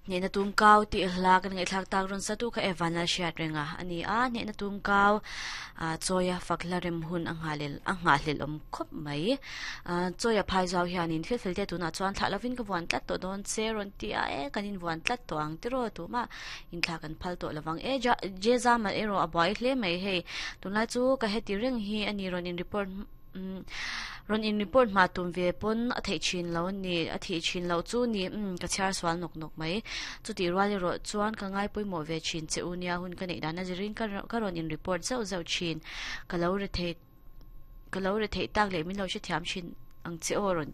Hnehna tum kau tih hla kan ngaihthlak tak rawn satu kha Evan a hriat reng a a ni a, hnehna tum kau ah chawia fak hla rem hun a nghah a nghahhlelh awm khawp mai. Ah chawia phai zau hianin thil fel te tunah chuan thlah lovin ka vuan tlat tawh dawn che rawn ti a, e kan invuan tlat tawh ang tiraw tumah inthlah kan phal tawh lovang e ja Jezama erawh a buai hle mai hei tunlai chu ka heti reng hi a ni rawn in report Umm rawn in report hma tum ve pawn a theih thin lo a ni, a thih thin loh chu ni umm ka chhiar sual nawk nawk mai. Chutih rual erawh chuan ka ngai pawimawh ve thin che u nia hun ka neih dan a zirin ka ka rawn in report zauh zauh thin. Ka lo re thei ka lo re theih tak leh min lo hrethiam thin ang che aw rawn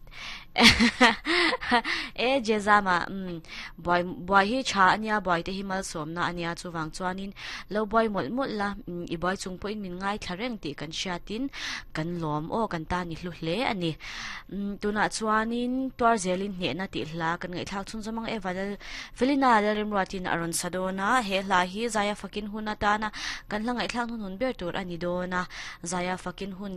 e Jezama umm buai buai hi tha a nia buai te hi malsawmna a nia chuvang chuanin Lo buai mawlh mawlh la, i buai chung pawhin min ngaithla reng tih kan hriatin kan lawm aw, kan tan i hlu hle a ni. Tunah chuanin tuar zelin hnehna tih hla kan ngaihthlak chhun zawm ang e, Valal Felina Lalrimruatin a rawn sa dawn a, he hla hi Zaia fakin hun atana kan hla ngaihthlak hnuhnun ber tur a ni dawn a, Zaia fakin hun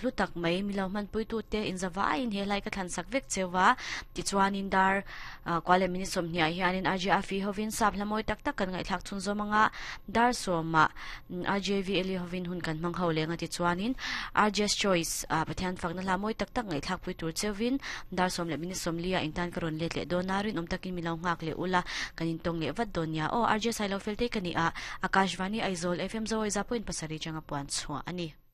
hlu tak mai mi lo hmanpuitute inzavaiin he hlai ka thlan sak vek cheu va, tichuanin dar kual leh minute sawmhniah hianin RJ Afi hovin sap hla mawi tak tak kan ngaihthlak chhun zawm anga dar sawmah RJ VLE hovin hun kan hmang ho leng a tichuanin RJ's Choice Pathian fakna hla mawi tak tak ngaihthlak pui tur cheuvin dar sawm leh minute sawmliah intan ka rawn let leh dawn a, rinawm takin mi lo nghak leh ula kan intawng leh vat dawn nia aw RJ Sailo Feltei ka ni a, Akashvani Aizawl FM Zawawi 0.7 changa puan chhuah a ni.